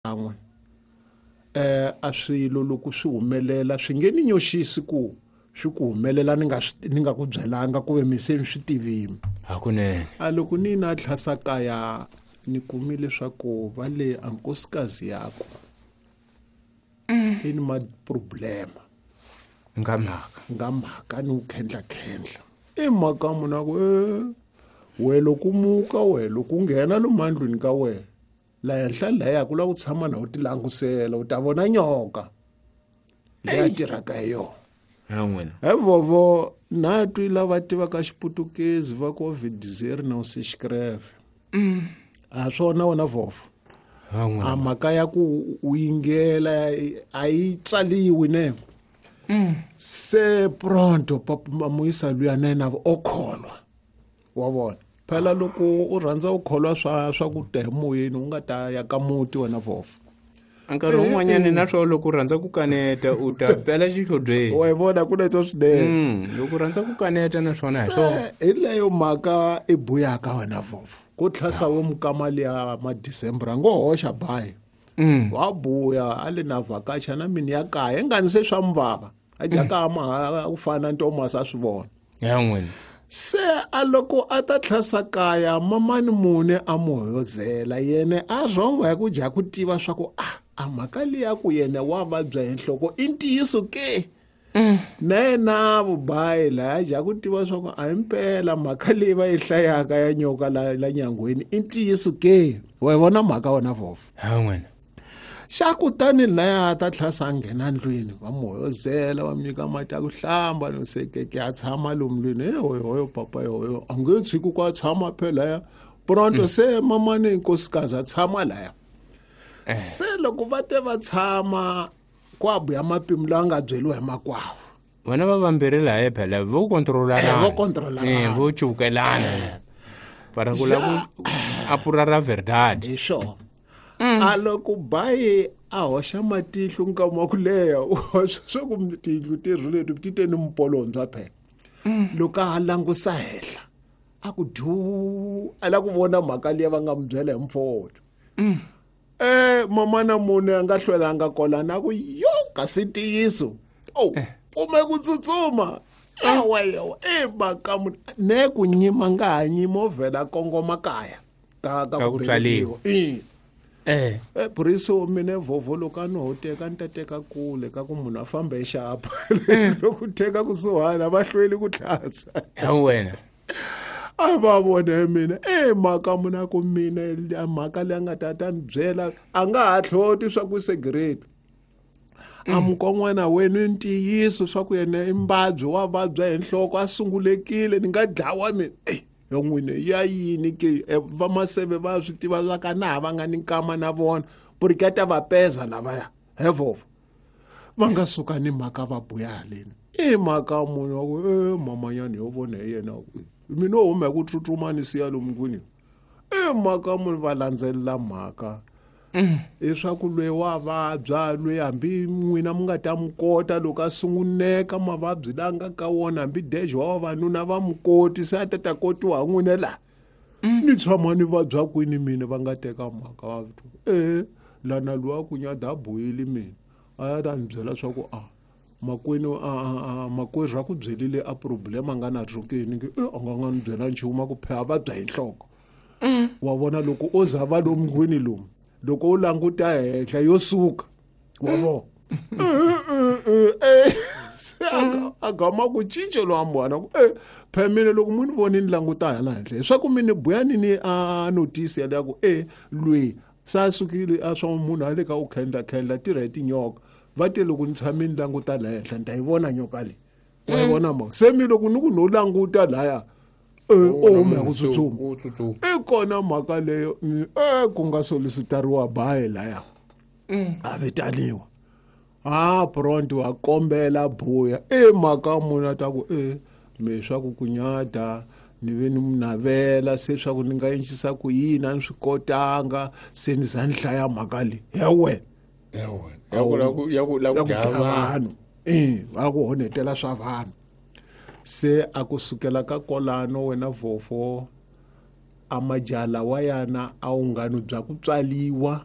Kan'we a swilo loko swi humelela swi nge ni nyoxisi ku swi ku humelela ni nga ni nga ku byelanga ku ve mi se ni swi tivini. Hakunene. A loko ni na tlhasa kaya ni kumi leswaku va le a nkosikazi yaku i ni ma-problema nga mhaka nga mhaka ni ku khendla-khendla i mhaka munhu a ku e we loko muka we loko u nghena lomu andlwini ka wena la henhla laya ku lava ku tshama na u ti langusela u ta vona nyoka leyi a tirhaka hi yona ha n'wina he vovo na twi lava tivaka xiputukezi va ku vidizeri na se xikreve a swona wena vovo ha n'wina a mhaka ya ku u yingela a yi tsaliwi ne se pronto papa muyisa luya na yena o kholwa wa vona phela loko u rhandza u kholwa swa swa ku ta hi moyeni u nga ta ya ka muti wena vovo nkarhi wun'wanyana na swona loko u rhandza ku kaneta u ta pela xihlobyeni wa yi vona ku na swinene Loko u rhandza ku kaneta na swona hi swona se hi leyo mhaka i buyaka wena vovo ku tlhasa wo mukama liya madecember a ngo hoxa bayi wa buya a le na vhakacha na mini ya kaya ingani se swa muvava a jaka ma ku fana ntomasi a swi vona ya n'wina se a loko a ta tlhasa kaya mamani mune a mu hoyozela yene a rhongo ya ku dya ku tiva swa ku a a mhaka liya ku yena wa vabya hi nhloko i ntiyiso ke na yena vubayi laya dya ku tiva swa ku a hi mpela mhaka leyi va yi hlayaka ya nyoka la la nyangweni i ntiyiso ke wa yi vona mhaka wena vovo ha n'wina xa kutani laya a ta tlhasa a nghena ndlwini va mu hoyozela va mu nyika mati ya ku hlamba no sekeke a tshama lomu ndlwini e hoyohoyo papa yohoyo a nge tshiki ku a tshama phela laya pronto se mamani nkosikazi a tshama laya se loko va te va tshama kwabuya mapimo lawa nga byeliwa hi makwavo vona va vambirhi laya phela vo kontrolana Vo kontrolana. Vo cukelana para ku lava ku apura ra verdade hi swona a loko bayi a hoxa matihlo nkama wa ku leha u hoxa swa ku tiyindlu ti rhuleti ti te ni mpolondzwa phela loko a langusa henhla a ku du a la ku vona mhaka liya va nga mu byela hi mfowethu mamana munhu a nga hlwelanga kolana a ku yo kasi ntiyiso o kume ku tsutsuma awa yawa e mhaka munhu ne ku nyima nga ha nyima o vhela kongoma kaya ka Ka ku tswaliwa. I eh buriso mina vhovho loko a no ho teka ni ta teka kule ka ku munhu a famba hi xapa loko teka kusuhani a va hlweli ku tlhasa ha wena a va vone mina e mhaka munhu a ku mina a mhaka leyi a nga ta ta ni byela a nga ha hloti swa ku segreti a mukon'wana wenu i ntiyiso swa ku yena i mbabyi wa vabya hi nhloko a sungulekile ni nga dlawa mina eyi yo n'wini ya yini ke vamaseve va swi tiva swa ka na ha va nga ni nkama na vona puriketa va peza lavaya hevovo va nga suka ni mhaka va buya haleni i mhaka munhu wa ku e mamanyani yo vona hi yena mina o huma hi ku tsutsuma ni siya lomu ndlwini i mhaka munhu va landzelela mhaka leswaku loyi wa vabya loyi hambi n'wina mi nga ta mi kota loko a sunguneka mavabyi la nga ka wona hambi dejo wa vavanuna va mi koti se a ta ta kotiwa ha n'wina laha ni tshama ni vabya kwini mina va nga teka mhaka va e lana luwa ku nyada a boyile mina a ya ta ni byela swa ku a makwenu a makwerhu a ku byelile a problem a nga na rhokeni nge e a nga nga ni byela nchumu a ku pheha vabya hi nhloko wa vona loko o za va lomu ndlwini lomu loko u languta henhla yo suka wa vona se a gama ku cince lowa mbwana ku e phela mina loko mu ni voni ni languta hala henhla leswaku mi ni buya ni ni a notice yaleya ku e lweyi se a sukile a swa munhu a le ka u khendla khendla tirha hi tinyoka va te loko ni tshame ni languta la henhla ni ta yi vona nyoka leyi wa yi vona mhaka se mi loko ni ku no languta laya o huma hi ku tsutsuma u tsutsuma i kona mhaka leyo e ku nga solicitariwa bayi laya a vitaniwa a pronto wa kombela buya i mhaka munhu a ta ku e me swa ku kunyata ni ve ni navela se swa ku ni nga endlisa ku yini a ni swi kotanga se ni za ni hlaya mhaka leyi ya wena ya wena ya ku la ku ya ku la ya ku ku dlaya dlaya vanhu vanhu e va ku honetela swa vanhu se a ku sukela ka kolano wena vhofo a majala wa yana a wungano bya ku tswaliwa.